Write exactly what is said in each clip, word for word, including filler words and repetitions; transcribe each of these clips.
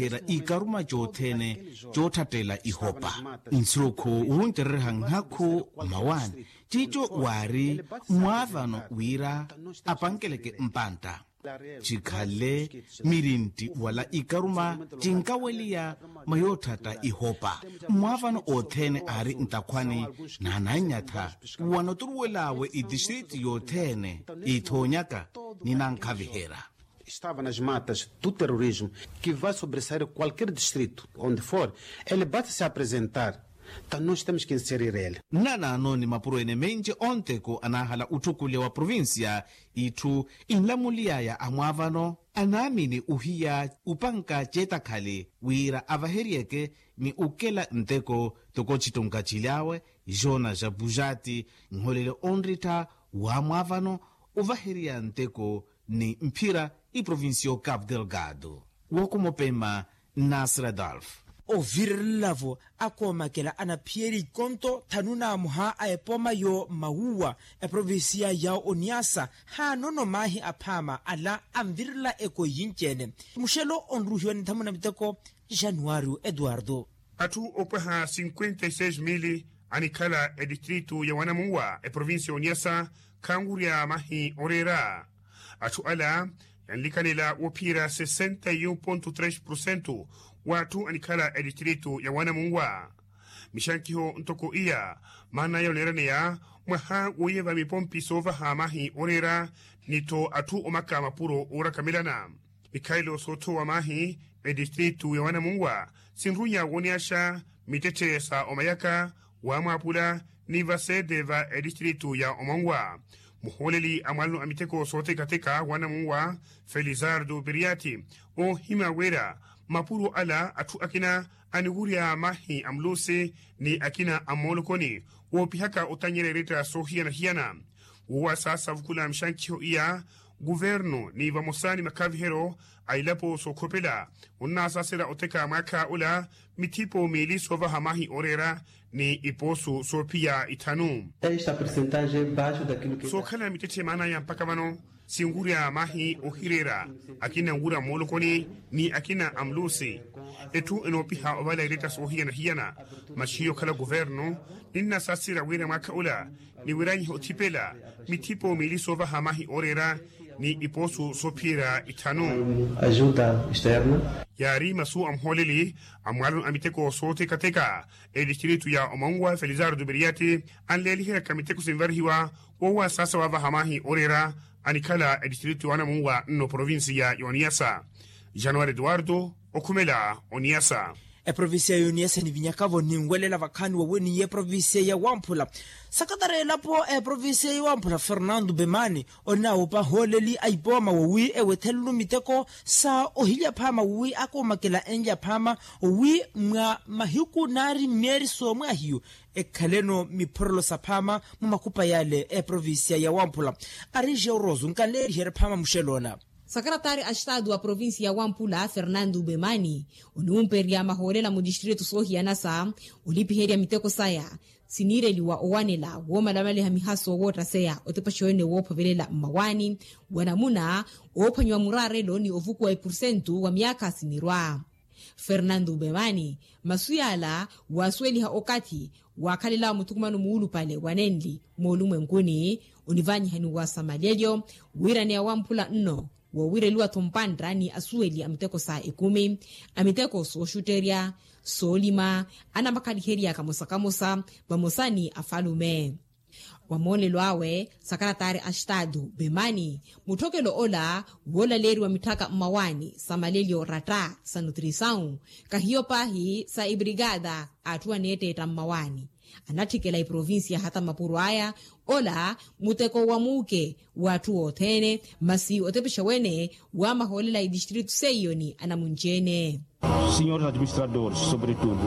era ikaruma cothene cootthattela ihopa. Nsuku wunterereha nhakhu mmawaani cico waari mwaavano wira apankeleke mpantta. Cikhale mirintti wala ikaruma cinkaweliya mwa yootthatta ihopa. Mwaavano othene aari ntakhwani naanannyatha wanoturuwel'awe itistritu yothene ithoonyaka ni nankhaviherya. Estava nas matas do terrorismo que vai sobressair qualquer distrito onde for, ele basta se apresentar. Então nós temos que inserir ele. Nnanaano ni mapuro ene menci onteko anaahala utthukulewa provincia itthu inlamuliyaya a mwaavano anaamini ohiya upanka ceetakhali wira avaheryeke ni ukela nteko toko cittunka cilyawe. Jona ja pujati nholele onrittha wa mwaavano ovaherya nteko ni mphira iprovincia o cabo delgado. Wokumopema nasir adolf. Ovirelelavo akoomakela anaphiyeli ikonto thanu na amuha a epoma yo mawuwa eprovincia ya oniasa haanono maahi aphaama ala anvirela eko yinci-ene. Muxelo onruhiwa ni nthamuna miteko januario eduardo. Atthu opwaha cinquenta e seis mili anikhala etistritu ya wanamunwa eprovincia ya oniasa khanwurya mahi oreera. Atthu ala yanlikanela wophiyerya sesenta e um ponto tres porcento w'atthu anikhala etistritu ya wanamunwa. Mixankiho ntoko iya maana ya oneeraneya mwaha woyeva mipompi soovaha mahi oreera ni-tho atthu omaka mapuro oorakamelana. Mikhalelo soothowa maahi etistritu ya wanamunwa sinrunya woniyaxa mittetthe sa omayaka wamwaapula ni vasete va etistritu ya omanwa. Muhooleli a mwalano a miteko sootekateka wanamunwa felizardo piriati oohimya wira mapuro ala atthu akina aniwurya mahi a mulusi ni akina a mmoolokoni woopihaka otanyela eretta soohiyana-hiyana. Wowa saasavukula mixankiho iya guvernu ni vamosa ni makhaviheryo a ilapo sookhopela onnaasaasela oteka mwaakha ola mithipo miili soovaha mahi ooreera ni ipoosu soophiya ithanu. Sookhala mittetthe maanaya mpakha vano sinwurya mahi ohireera akina anwurya mmoolokoni ni akina a mulusi. Etthu enoopiha ovala eretta soohiyana-hiyana masi hiyo okhala guvernu ninnasaasira wira mwaakha ola niwiranyihe othipela mithipo miili soovaha mahi ooreera ni ipoosu soophiyerya ithanu. Ajuda externa. Yaari masu a muhooleli a mwalano a miteko sootekateka etistritu ya omanwa felizardo piriati anleeliheryaka miteko sinvarihiwa wowa saasa wavaha mahi ooreera anikhala etistritu ya wanamunwa nno provincia ya oniasa. Januari eduardo okhumela oniasa. Eprovincia ya oniasa nivinyakavo ninwelela vakhaani wawe ni eprovincia ya wamphula. Sakatari elapo eprovincia ya wamphula fernando bemani onawupa ahooleli a ipooma wowi ewethelelo miteko sa ohilya phaama wowi akoomakela enlya phaama wowi mwa mahiku naari mmeeri soomwahiyu ekhaleno miphorolo saphaama mu makhupa yale eprovincia ya wamphula. Ari jeoroso nkanleeriherya phaama muxeloona. Sakaratari a estadu wa provincia ya wampula fernando bemani oniwumperya mahoolela mu distritu soohiyanasa olipiherya miteko saya siniireliwa owanela woomalamaliha mihaso woottaseya otepaxewene woophovelela mmawaani wa namuna oophwanyiwa muraarelo ni ovukuwa epursentu wa myaakha sinirwa. Fernando bemani masu yaala waasuweliha okathi waakhalelawo muthukumano muulupale wa nenli moolumwenkuni onivanyihaniwa sa malyelyo wiiraneya wamphula nno woowireliwa-tho mpantta ni asuweli a miteko sa ekumi a miteko sooxutterya soolima anamakhaliherya kamosa-kamosa vamosa ni afalume. Wa moolelo awe sakaratari a estadu bemani mutthokelo ola woolaleeriwa mitthaka mmawaani sa malelyo ratta sa nutrisawu kahiyo paahi sa ebrigada a atthu aneetteetta mmawaani anatthikela eprovincia hata mapuro aya ola muteko wa muuke wa atthu othene masi otepexa wene wa mahoolela a etistritu seiyo ni anamunci-ene. Senhores administradores sobretudo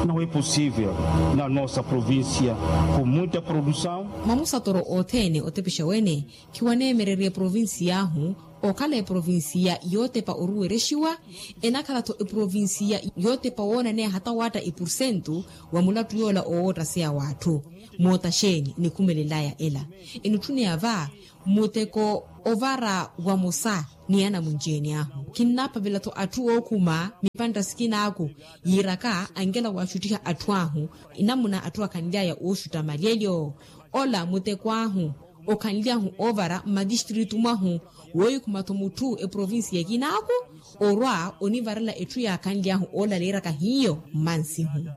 não é possível na nossa província com muita produção. Mamusatoro othene otepexa wene khiwaneemererya eprovincia ahu Okhala eprovinsiya yootepa oruwerexiwa, enakhala-tho eprovinsiya yootepa woonaneya hata waatta epursentu wa mulattu yoola owoottaseya w'atthu. Moota xeeni enikhumelelaya ela? Enutthuneya va muteko ovara wamosa ni anamunci-ene ahu. Khinnaapavela-tho atthu ookhuma mipantta sikinaaku yiiraka ankela waaxuttiha atthu ahu. Enamuna atthu akhanly'aya ooxutta malyelyo, ola muteko ahu okhanly'ahu oovara mmatistritu mwahu, woohikhuma-tho mutthu eprovinsiya ekinaaku orwa onivarela etthu yaakhanly'ahu oolaleeraka hiyo mmansihu.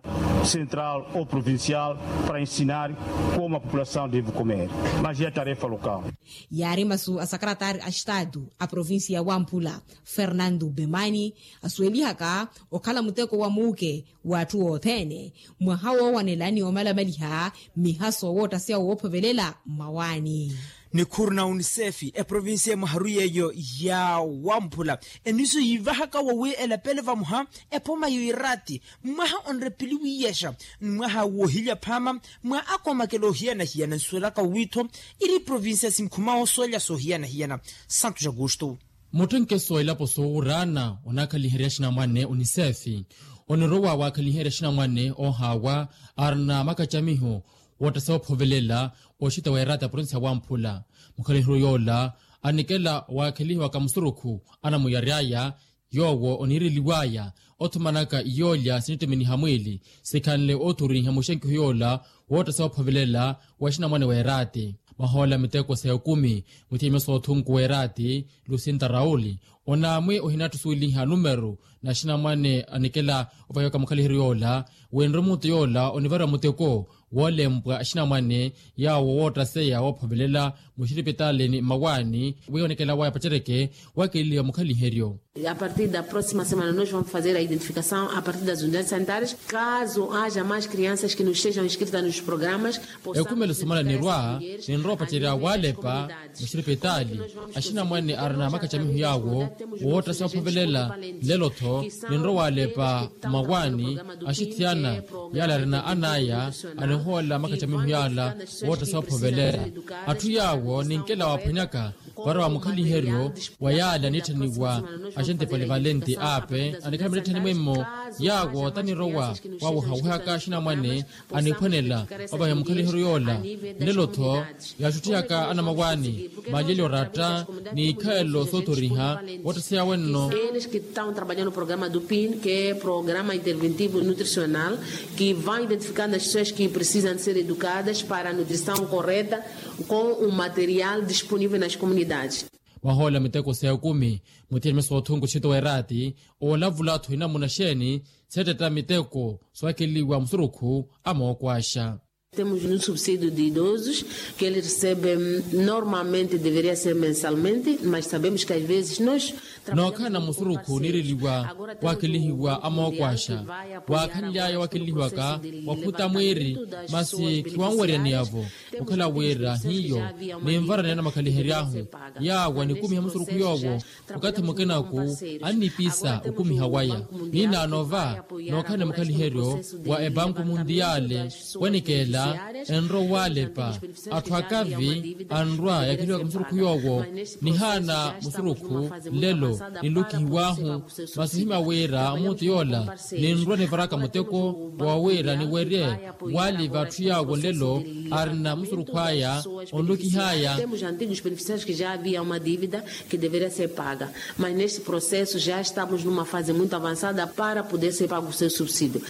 Central ou provincial para ensinar como a população deve comer, mas é tarefa local. Yaari masu a sakaratari a estadu a provinsiya ya wamphula, fernando bemani, asuwelihaka okhala muteko wa muuke w'atthu othene mwaha woowanela ni omalamaliha mihaso woottaseya woophovelela mmawaani. Nikhuru na unisefi eprovinsiya emwaharu yeeyo ya wamphula eniso yiivahaka wawi elapele vamuha ephoma yoirati mwaha onrepili wiiyexa ni mwaha woohilya phaama mwa akomakela ohiyana-hiyana nsuwelaka wawi-tho iri provinsiya sinkhuma osuwelya soohiyana-hiyana. Santos augusto. Mutthenkeso wa ilapo soowuraana onakhaliherya axinamwane unisefi onirowa waakhaliherya axinamwane oohaawa arina makacamiho woottaseya ophovelela oxita wa erata provinsiya wamphula. Mukhaliheryo yoola anikela waakhalihiwaka musurukhu anamuyary'aya yoowo oniireliw'aya othumanaka iyoolya sinittiminiha mwiili sikhanle othuriha muxenkiho yoola woottaseya ophovelela wa axinamwane w'erati. Mwahoola miteko sa ekumi muthiimya soothunku w'erati lusinta rauli onaamwi ohinattusuweliha numeru na axinamwane anikela ovahiwaka mukhaliheryo yoola wenre mutu yoola onivariwa muteko woolempwa axinamwane yaawo woottaseya woophovelela muxiripitali ni mmawaani wi onikela waya pacereke waakeliwa mukhaliheryo. A partir da próxima semana nos vamos fazer a identificação a partir das unidades sanitárias caso haja mais crianças que nos sejam inscritas nos programas. Ekumelo sumala nirwa ninrowa opacerya waalepa muxiripitali axinamwane arina makacamiho yaawo woottaseya ophovelela. Lelo-tho ninrowa waalepa mmawaani axithiyana yaala arina an'aya anihoolela makacamiho yaala woottaseya ophovelela. Atthu yaawo ninkela waaphwanyaka para wa mukhaliheryo wa yaale anitthaniwa axente palivalenti ape anikhala mittettheni mwimmo yaawo tanirowa wawehawehaka axinamwane aniphwanela opahiwa mukhaliheryo yoola. Nlelo-tho yaaxutthiyaka anamawaani malyelyo oratta ni ikhaelo sootoriha woottaseya wenno. Eles que estão trabalhando no programa do pin que é programa interventivo nutricional que vai identificar nas pessoas que precisam de ser educadas para a nutrição correta com o material disponível nas comunidades. Mwahoola miteko sa ekumi muthiya nimya soothunku txito w'erati olavula-tho inamuna xeeni seettetta miteko sookeliwa musurukhu a mookwaxa. Temos no subsídio de idosos que eles recebem normalmente deveria ser mensalmente mas sabemos que às vezes nos nookhala na musurukhu oniireliwa waakelihiwa a mookwaxa waakhanly'aya waakelihiwaka waphuta mwiiri masi khiwanwerya niyavo. Okhala wira hiyo ninvara ni anamakhalihery'ahu yaawo anikumiha musurukhu yoowo okathi mukinaku annipisa okumiha waya. Ninaano va nookhala ni mukhaliheryo wa epanku muntiyale wanikeela enrowa waalepa atthu akavi anrwa yakheliwaka musurukhu yoowo nihaana musurukhu nlelo ninlukihiw'ahu. Masi ohimya wira mutu yoola ninrwa nivaraka muteko wa wira niwerye waaliva atthu yaawo nlelo arina musurukhu aya onlukih'aya. Temos antigos beneficiários que já havia uma dívida que deveria ser paga mas neste processo já estamos numa fase muito avançada para poder ser pago o seu subsídio.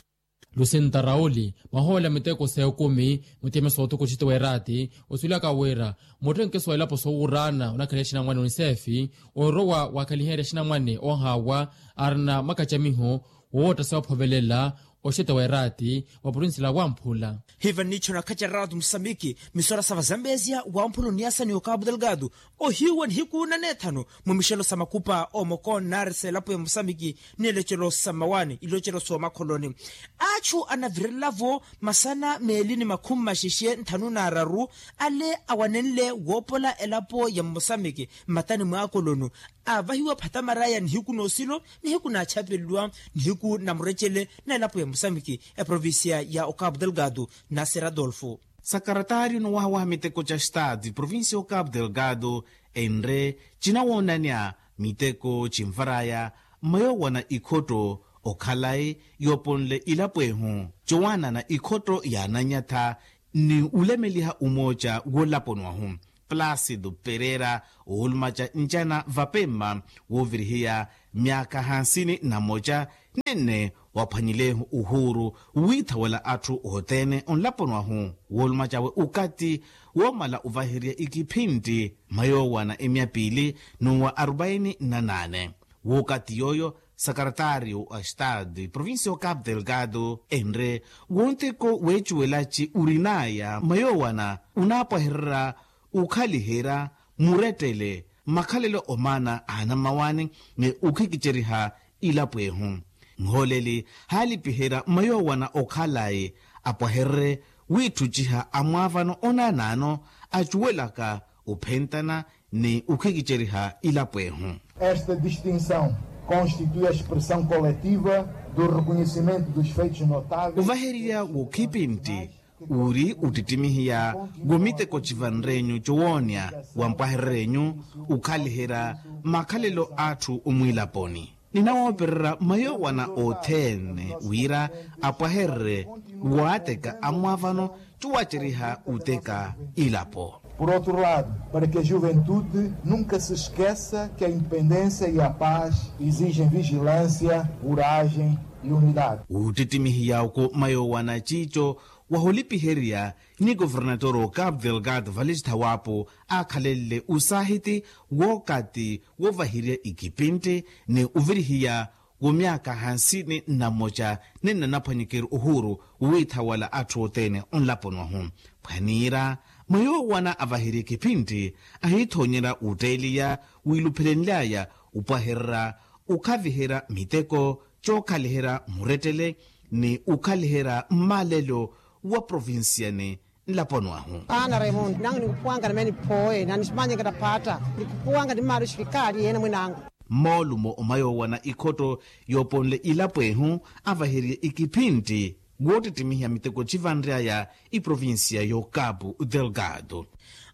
Lucinta rauli mwahoola miteko sa ekumi muthiya nimya soothunku txito w'erati osuwelaka wira mutthenkeso wa ilapo soowuraana onakhaliha axinamwane unisefi orowa waakhaliherya axinamwane oohaawa arina makacamiho woowotta saophovelela oxete w'erati wa provincia la wamphula. Hiva nniicho nakhacereratu musamiki misora sa vazambezia wamphula oniasa ni okapu delgado ohiiwa nihiku na neethanu mu mixelo sa makupa omoko nnaarisa elapo ya musamiki ni elocelo sa mmawaani ilocelo soomakholoni. Aachu anavirelelavo masana meeli ni makhumi maxexe nthanu n'araru ale awanenle woopola elapo ya mmusamiki mmatani mw'akolonu aavahiwa phattamara ya nihiku n'osilo nihiku naachapeliwa nihiku na murecele na elapo ya musamiki eprovincia ya okapu delgado. Nasser adolfo. Sakaratari onowahawaha miteko ca estado provincia okapu delgado Enre cinawoonanya miteko cinvar'aya mmayoowana ikhotto okhalayi yooponle ilapo ehu cowaanana ikhotto yaananyatha ni ulemeliha umooca woolaponi wahu. Placido pereira oolumaca ncana vapemma woovirihiya myaakha hansini na moca nenne waphwanyilehu uhuuru wiithawela atthu othene onlaponi wahu woolumacawe ukati woomala ovaherya ikiphintti mmayoowana emya piili n'uwa arupaini na naane. W'okati yooyo sakaratariyo a estado provincia o capu delgado enre wonteko weecuwelaci orin'aya mmayoowana onaapwahererya okhaliherya murettele makhalelo omaana a anammawaani ni okhikiceriha ilapo ehu. Muhooleli haalipiherya mmayoowana okhalayi apwahererye wiitthuciha amwaavano onaanaano acuwelaka ophentana ni okhikiceriha ilapo ehu. Esta distinção constitui a expressão coletiva do reconhecimento dos feitos notáveis. Ovahererya wokhipintti uri ottittimihiya wo miteko civanre-nyu cowoonya wampwahererye-nyu okhaliherya makhalelo a atthu omwiilaponi. Ninawoopererya mmayoowana othene wira apwahererye waateka amwaavano cuwaceriha oteka ilapo. Por outro lado, para que a juventude nunca se esqueça que a independência e a paz exigem vigilância, coragem e unidade. Wuttittimihiya oko mmayoowana ciico waholipiherya ni governatoro capu delgado vale cithawaapo aakhalenle osaahiti wookati woovahirya ikipintti ni ovirihiya wo myaakha hansini na mmoca ni nnanaphwanyikeri ohuuru wiithawala atthu othene onlaponi wahu. Phwaniira mwa yoowana avahirya ikipintti ahiithoonyerya wutteeliya wiiluphelenly'aya opwahererya okhaviherya miteko cookhaliherya murettele ni okhaliherya mmaalelo wa provincia ni nlaponi wahu. Ana raimundo nangu nikhupuwanga na mene phooye na niximanyeke na phaatta nikhupuwanga ni mmaalo xivikaali yeene mwinangu. Mmoolumo omwa yoowana ikhotto yooponle ilapo ehu avaherye ikiphintti woottittimihiya miteko civanry'aya iprovincia y'okapu delgado.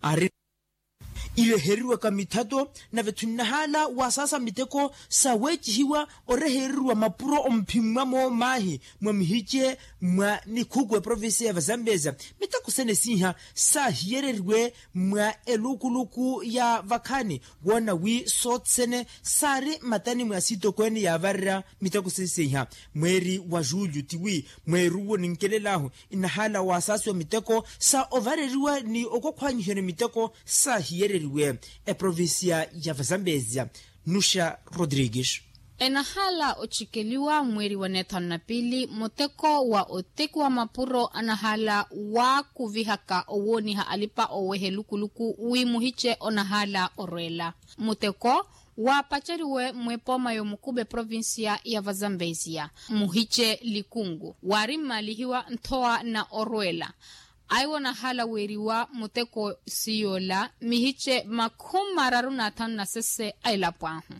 Ari ireheriwaka mithato nave-tho nnahaala wasaasa miteko saweecihiwa orehereriwa mapuro omphimmwa moomaahi mwa mihice mwa nikhuku eprovincia ya vazambezia. Miteko sene siiha saahiyereriwe mwa elukuluku ya vakhaani woona wi soothene saari mmatani mwa siitokweene yaavarerya miteko sene siiha mweeri wa julho tiwi mweeruwo ninkelelaahu inahaala wasaasiwa miteko sa ovareriwa ni okokhwaanyihiwa ni miteko saahiyereriwe eprovincia ya vazambezia. Nuxa rodrigues. Enahaala ocikeliwa mweeri wa neethanu na piili muteko wa otekiwa mapuro anahaala waakuvihaka owooniha alipa oweha elukuluku wi muhice onahaala orweela. Muteko waapaceriwe mwepooma y'omukuba eprovincia ya vazambezia muhice likungu waari mmaalihiwa nthowa na orweela. Aiwo nahaala weeriwa muteko siyoola mihice makhumi mararu na athanu na sese a elapo ahu.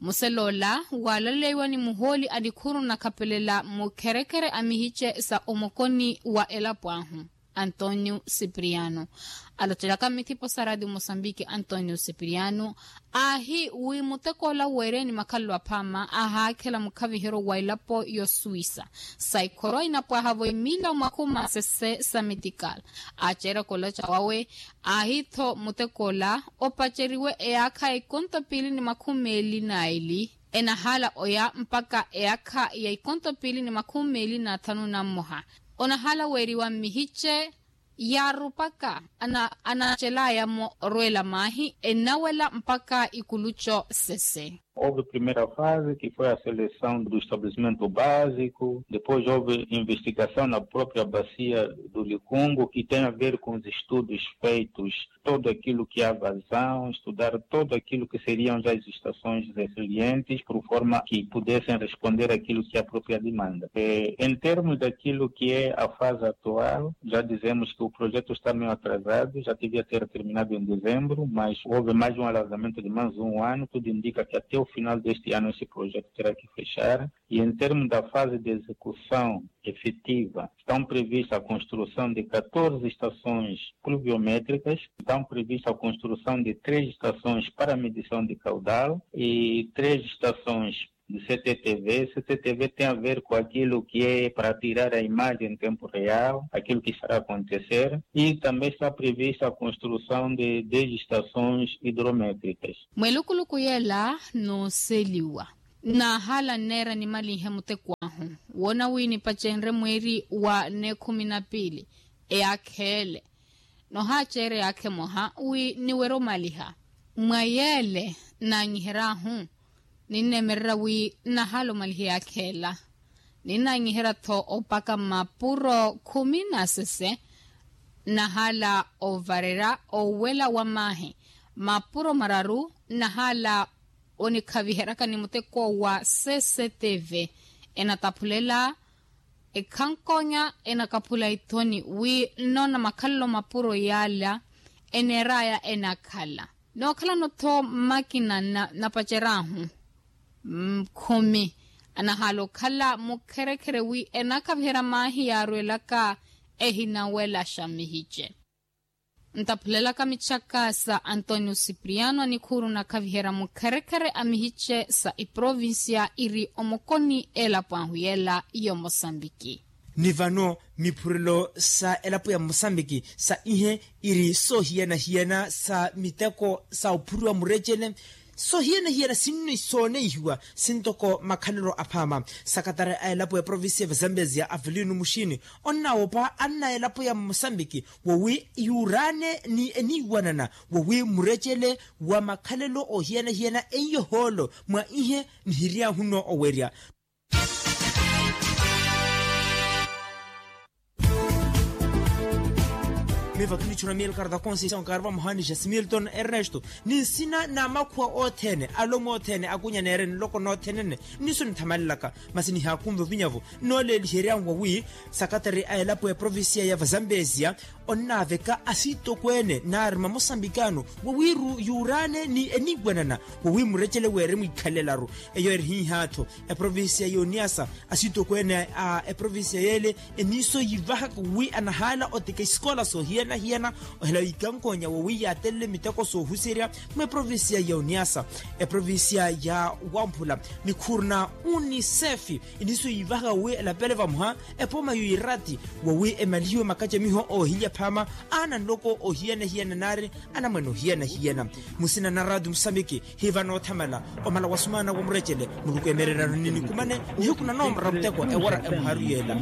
Museloola waalaleiwa ni muhooli a nikhuru nakhapelela mukherekhere a mihice sa omokoni wa elapo ahu antonio sipiriano alocelaka mmithipo sa raatiyo mosambiki antonio sipiriano aahi wi mutekoola weereni makhalelo aphaama ahaakhela mukhavihero wa elapo y'osuwisa sa ikhorwa inapwahavo emila omakhumi masese sa metikala. Aaceeraka olaca wawe aahi-tho mutekoola opaceriwe eyaakha ya ikonto piili ni makhumi meeli na eli enahaala oya mpaka eyaakha ya ikonto piili ni makhumi meeli na athanu na mmoha. Onahaala weeriwa mmihice yaarupaka anaacelaya-mo orweela maahi ennawela mpaka ikuluco sese. Houve primeira fase que foi a seleção do estabelecimento básico depois houve investigação na própria bacia do likungo que tem a ver com os estudos feitos todo aquilo que a vazão estudar todo aquilo que seriam já as estações resilientes por forma que pudessem responder aquilo que a própria demanda em termos daquilo que é a fase atual. Já dizemos que o projeto está meio atrasado já devia ter terminado em dezembro mas houve mais um alargamento de mais um ano tudo indica que até o Final deste ano esse projeto terá que fechar. E em termos da fase de execução efetiva, estão previstas a construção de catorze estações pluviométricas, estão previstas a construção de três estações para medição de caudal e três estações de C T T V. C T T V tem a ver com aquilo que é para tirar a imagem em tempo real, aquilo que está a acontecer, e também está prevista a construção de dez estações hidrométricas. Mwelukuluku yela nooseliwa, nahala nneera nimalinhe muteko ahu, woona wi nipacenrye mweeri wa nekhumi na piili, eyaakha ele. Nohaaceerya yaakha emoha wi niwerye omaliha. Mwa yeele nnanyiheryahu, ninneemererya wi nnahaala omaliha eyaakha ela. Ninnaanyiherya-tho opaka mapuro khumi na sese. Nnahaala ovarerya owela wa maahi. Mapuro mararu nnahaala onikhaviheryaka ni muteko wa cctv. Enataphulela ekhankonya, enakaphula ithoni wi nnoona makhalelo mapuro yaala eneeraya enakhala. Nookhalano-tho mmakina nnapaceryahu khumi, anahaala okhala mukherekhere wi enakhaviherya maahi yaarwelaka ehinawelaxa mmihice. Ntaphulelaka michaka sa antonio cipriano anikhuuru onakhaviherya mukherekhere a mihice sa eprovincia iri omokoni elapo ahu yela y'omosambiki. Ni vano miphurelo sa elapo ya mosambiki sa ihe iri soohiyana-hiyana sa miteko sa ophuriwa murecele. Soohiyana-hiyana sinno isooneihiwa sintoko makhalelo aphaama. Sakatari a elapo ya provincia ya vazambezia avelino muxini onnaawopa anna elapo ya mosambiki wowi yuuraane ni eniiwanana wowi murecele wa makhalelo oohiyana-hiyana eiyohoolo mwa ihe nihiryahu nno owerya. Miva kinichuna mielkarta konsi sa onkarva muhani jasimilton ernesto ni nsina na makhuwa othene alomo othene akunya neere nloko nothene nne. Niso nithamalelaka masi nihaakunva ovinyavo nnooleeliheryani wawi sakatari a elapo ya provincia ya vazambezia onnaaveka asiitokweene naari mamosambikano wawiiru yuuraane ni eniiwanana wawi murecele weere mwiikhalelaru. Eyo eri hiihaatho eprovincia ya oniasa asiitokweene a eprovincia yeele eniiso yiivahaka wi anahaala oteka isikola soohiyana-hiyana ohela wiikankonya wowi yaatelele miteko soohuserya mwa eprovincia ya oniasa eprovincia ya wamphula nikhuuruna unisefi. Iniso yiivahaka wi elapele vamuha epooma yiirati wowi emalihiwe makacamiho oohilya phaama aana nloko oohiyana-hiyana naari anamwane oohiyana-hiyana. Musina na raati musambiki hiiva noothamala omala wa sumaana wa murecele muluku emererano ni nikumane nihiku na noomora muteko ewara emuharu yeela.